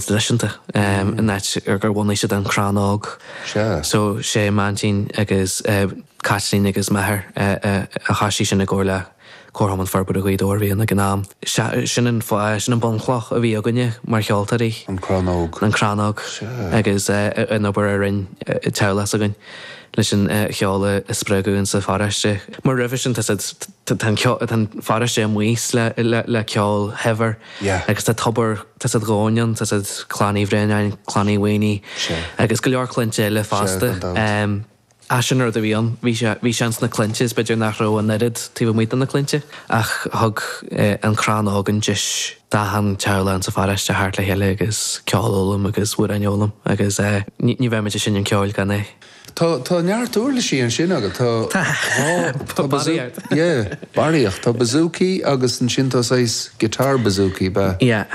traidisiúnta an áit ar gur bhunaigh siad an Crann Óg. Sea. So sé m'aintín agus Caitlín agus m'athair a thoisigh sin i gcomhar le Comharchumann Forbartha Ghaoth Dobhair a bhí ann ag an am. Sea, sin an fáth, sin an bunchloch a bhí againne mar cheoltóirí. An Crann Óg. An Crann Óg. Sea. Agus an obair a rinn teaghlach s'againn leis an cheol a spreagadh insa pharóiste. Mar roimhe sin tá tá an ceol, tá an pharóiste amuigh le le ceol shaibhir Yeah. agus tá tobar, tá siad dhomhain ann, tá siad Clann Uí Bhraonáin, Clann Uí Mhaonaigh Sea. agus go leor clainte eile Sea, fosta. gan dabht. Ach sin an rud a bhí ann. Bhí sé, bhí sé ins na clainte is b'fhéidir nach raibh an oiread taobh amuigh de na clainte ach thug an Crann Óg an deis d'achan teaghlach insa pharóiste theacht le chéile agus ceol a fhoghlaim agus amhráin a fhoghlaim agus ní, ní bheadh muid ag seinm ceoil gan é. Tá, tá neart uirlisí ansin agat. Tá Tá. dhá, tá bazoo, Barraíocht. yeah, barraíocht. Tá bouzouki agus ansin tá saghas guitar bouzouki, b'ea? Yeah.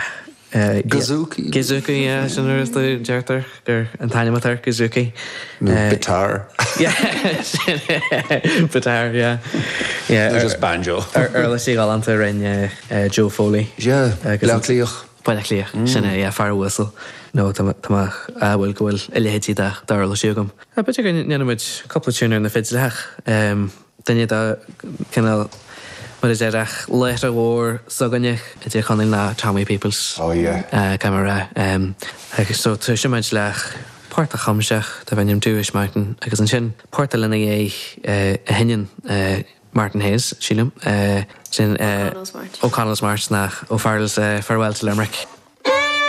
Gazooky. Gazooky, yeah, sin rud a deirtear gur an t-ainm atá air, Gazooky. Nó bitar. Yeah, sin é, bitar, yeah. Yeah. Nó just banjo. Uirlisí galánta a rinne Joe Foley. Yeah, Baile Átha Cliath. Baile Átha Cliath, sin é, yeah, fear uasal. No, tá mé ádhúil go bhfuil a leithéidí d'uirlisí agam. B'fhéidir go ndéanfaidh muid cúpla tune ar na fidleacha. Duine de cineál, mar a déarfá, laochra mhór s'againne i dTír Chonaill ná Tommy Peoples. Oh yeah. Caithfidh mé a rá. Agus so toiseoidh muid le port a chum sé darb ainm Dooish Mountain agus ansin port eile ina dhiaidh a sheinneann Martin Hayes, sílim, sin O'Connell's March. O'Connell's March nach O'Farrell's Farewell to Limerick.